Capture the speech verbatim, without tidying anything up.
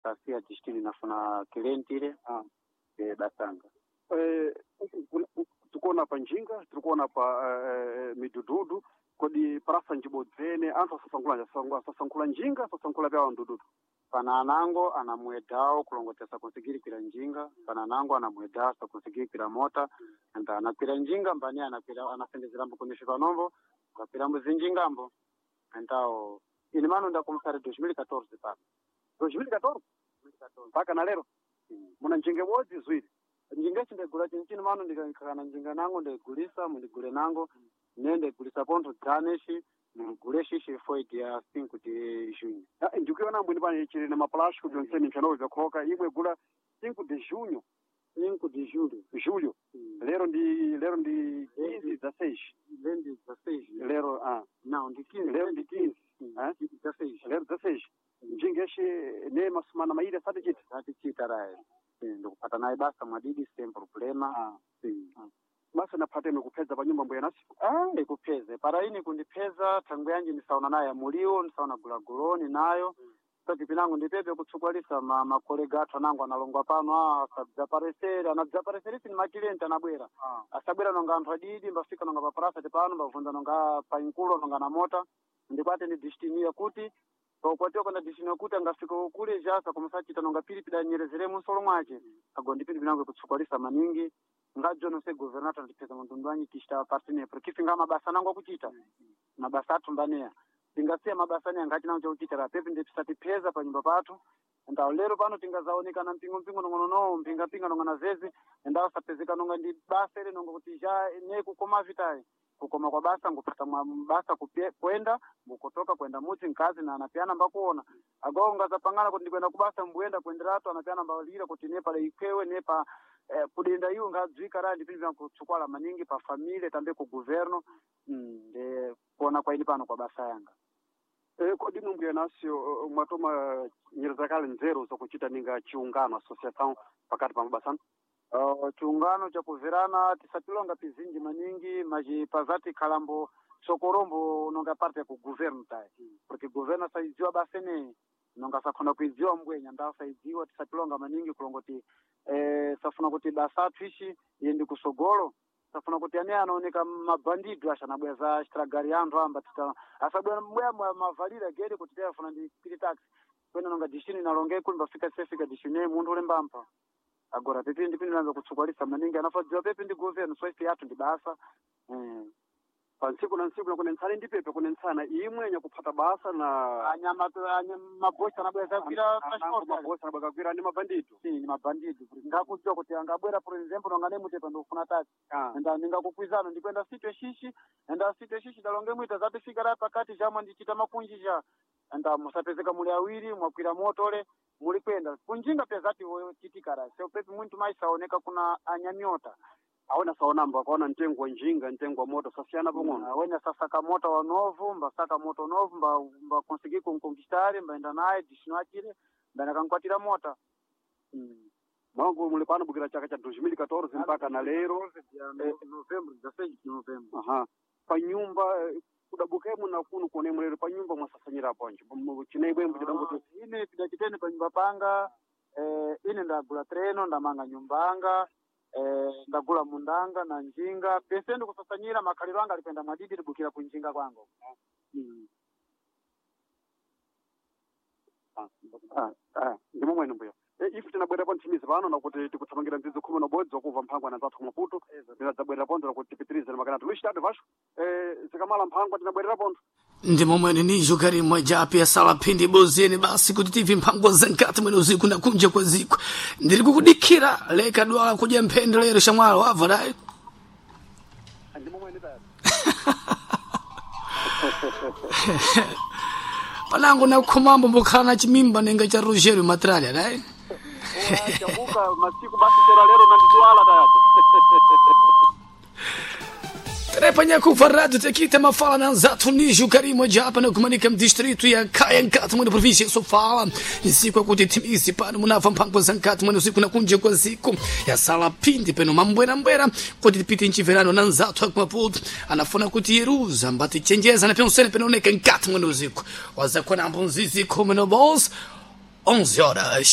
Sasiya destino nafuna cliente Ah. e basanga. Eh, tikuona pa njinga tirikuona pa eh, midududu kodi parasa njibodzene anthu asasankhula asasankhula njinga asasankhula pyawa mdududu Pana anango anamwedao kulongotesa konsigiri njinga, pana anango anamwedao sakonsigiri kwira mota, anda anakwira njinga mbani anakwira anasendezera kunisha panombo, ngakwira mbuzinjingambo. Então, ini mano ndakomeçar em dois mil e quatorze pano. dois mil e quatorze mpaka na lero muna njinga ibodzi ziwiri Njinga ichi ndegula chinchini mano ndikakana njinga nango ndegulisa mundigule nango ne ndegulisa pontho dzane ici mundigule shishi foi dia cinco de junho. Ah, ndikuiona mbwini pano chili na maplástico byonsene mpyanowo vyakhoka imwe gula cinco de junho cinco de julho. julho lero ndi lero ndi quinze dezesseis Vende dezesseis. lero ah Não, de quinze. lero ndi quinze eh? dezesseis. lero dezesseis njinga ici ne masumana mairi asati chita Atichita rayi. Ndikupata naye basa mwadidi sem problema. ah. Sim. basa naphateni kuphedza pa nyumba mbuya nasi Ah, ndikupheze para ini kundipheza thangwe yanji ndisaona naye muliwo ndisaona gulaguloni nayo sati pinango ndipepe kutsukwalisa ma makolega athu anango analongwa pano ah, asabzaparesere anabzapareserisi ni makilenti anabwera ah. asabwera nonga anthu adidi mbafika nonga pa prasati pano mbavunza nonga pa inkulo nonga na mota ndikwate ndi destiny kuti paukwatiwa kwenda destiny yakuti angafika kule jasa komasachita nonga pilipili anyerezere munsolo mwace ago ndi pilipili nango ikutsukwalisa maningi ngadzo nonse governator andipeza mtundu wanyi tichita partner porque finga mabasa nango akuchita mabasa athu mbaneya tingasiya mabasa aneya ngati nango chakuchita ra pepi ndipisatipeza pa nyumba pathu ndawo lero pano tingazaonekana mpingo mpingo nong'onono mpinga mpinga nong'ona zezi ndawo sapezeka nonga ndi basa ile nonga kuti ja ne kukoma vitayi kukoma kwa basa ngupata mwa basa kupye, kwenda ngukotoka kwenda mudzi mkazi na anapeana mbakuona agawo ngazapangana kuti ndikwenda kubasa mbuyenda kuenderatu anapeana mbalira kuti ne pala ikwewe ne pa eh, kudenda iwo ngadzwika ra ndipindi vyankutsukwala maningi pa familia tambe ku governo mm, nde kuona kwaini pano kwa basa yanga Eh, kodi imwe mbuya nasi eh, mwatoma nyereza kale nzeru zakuchita ninga chiungano associação pakati pa mabasano Uh, chiungano chakuverana tisatilonga pizinji maningi machi khalambo sokorombo nonga parte ya ku governo tayi porque governo saidziwa basa eneyi nonga sakhona kuidziwa mbwenya ndawo saidziwa tisatilonga maningi kulongoti eh, safuna kuti basa athu ichi iyendi kusogolo safuna kuti ane anaoneka mabhandido axanabwera za chitragari anthu amba tita asabwera mbweya mavalira gere kuti tayafuna ndi pili taxi kwena nonga destino inalonge kuli mbafika sefika destino ye munthu ulembampa agora pepi ndi pindi kutsukwalisa maningi anafadziwa pepi ndi governo so ife yathu ndi basa mm. pa ntsiku na ntsiku nakunentsana ndi pepe kunentsana imwe nyakuphata basa na anyama anya mabosi anabwera zagwira transport mabosi anabwakagwira ndi mabandido si ni mabandido ngakudziwa kuti angabwera por exemplo nonga nemutepa ndikufuna taxi ah. enda ndingakukwizano ndikwenda sitwe shishi enda sitwe shishi dalonge mwita zatifika ra pakati jamwe ndichita makunji ja enda musapezeka muli awiri mwakwira motole muli kwenda kunjinga pe zati chitikara seo pepi muntu maisaoneka kuna anyamiota awona saonamba akaona mtengo wa njinga mtengo wa moto sasiyana pang'ono awene sasaka mota wa novo mbasaka moto novo mba mba consegui kunconquistar mbaenda naye destino achire mbaenda kankwatira mota mm. mwangu muli pano bukira chaka cha dois mil e quatorze mpaka na lero Eh, novembro dezesseis de novembro aha pa nyumba eh, kudabukemo na kuno kuone lero pa nyumba mwasasanyira ponje chinaibwembo chidanguti Ah, ine pidachiteni pa nyumba panga eh, ine ndagula treno ndamanga nyumbanga eh, ndagula mundanga na njinga pese ndikusasanyira makhaliro anga alipenda mwadidi libukira kunjinga kwangu mm. Ah, ah, ndimo mwene mbuya e, ife tinabwera nthimizi pano nakuti tikuthamangira ndzidzo khumi na ubodzi wakuva mphangwa na zathu kumaputo tinadzabwerera pontho nakuti tipitirize na makanatu luiz tatu vasco eh, zikamala mphangwa tinabwerera pontho Ndi momwene nijo karimwe japi yasala phindi bozeni basi kuti tivi mphango za nkati mwene usiku na kunja kwa ziko ndiri kukudikira leka dwala kudya mphende lero shamwalo wabva dai ndimo mwene tayari panango nakukhomambo mbokhala na chimimba nenga cha Rogério Matralha dai chabuka masiku basi chera lero nandidwala tayati Trepanha rádio tekita mafala na nzathu nijo karimo japa na kumanika mdistrito ya kaya nkati mwene província sofala nsiku akuti timisi pano munava mphango za nkati mwene usiku na kunja kwa ziko yasala phindi peno mambwerambwera kuti tipite nchiverano na nzathu akumaputo anafuna kuti yeruza mbatichenjeza na pensene penooneka nkati mwene usiku wazakhona ambonzizi khumi no bons onze horas